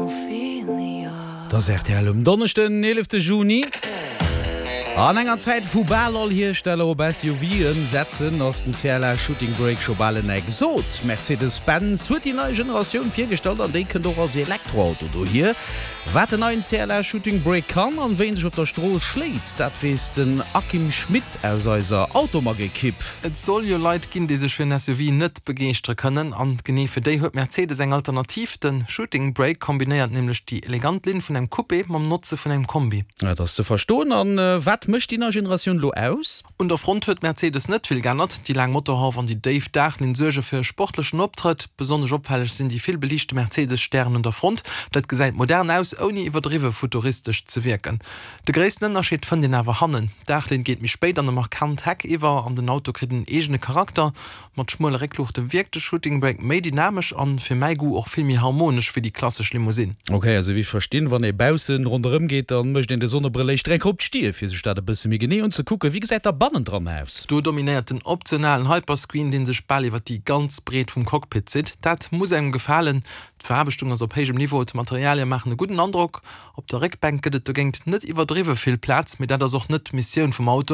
Et ass rtl um Donneschden, 11 Juni. An enger Zäit wou bal all Hiersteller op SUVen setzen, ass den CLA Shooting Brake scho bal en Exot. Mercedes-Benz huet déi nei Generatioun virgestallt an déi kënnt och als Elektroauto dohier. Wat den neien CLA Shooting Brake kann an wéi en sech op der Strooss schléit, dat weess den Akim Schmit aus eiser Automag-Ekipp. Et soll jo Leit ginn, déi sech fir en SUV net begeeschtere kënnen. An genee fir déi huet Mercedes eng Alternativ. De Shooting Brake kombinéiert nämlech déi elegant Linn vun engem Coupé mam Notze vun engem Kombi. Dat ass ze verstoen. An wat mécht déi nei Generatioun elo aus? Un der Front huet Mercedes net vill g'ännert. Déi laang Motorhauf an déi déif Daachlinn suerge fir e sportlechen Optrëtt. Besonnesch opfälleg sinn déi vill beliichte Mercedes-Stären un der Front. Dat gesäit modern aus, ouni iwwerdriwwe futuristesch ze wierken. De gréissten Ënnerscheed fënnt een awer hannen. D'Daachlinn geet méi spéit an e markant Heck iwwer an den Auto kritt en eegene Charakter. Mat schmuele Réckluuchte wierkt de Shooting Brake méi dynamesch an fir mäi Goût och vill méi harmonesch wéi déi klassesch Limousine. Ok, also wéi ech verstinn, wann ee baussen ronderëm geet, dann mécht een de Sonnebrëll éischter eng Kéier op d'Stier fir sech dat e bësse méi genee unzekucken. Wéi gesäit da bannendran aus? Do dominéiert den optionalen Hyperscreen, deen sech bal iwwer déi ganz Breet vum Cockpit zitt. Dat muss engem gefalen. D'Veraarbechtung ass op héijem Niveau, d'Materialie maachen e gudden Androck. Op der Réckbänk gëtt et dogéint net iwwerdriwwe vill Plaz, mee dat ass och net d'Missioun vum Auto.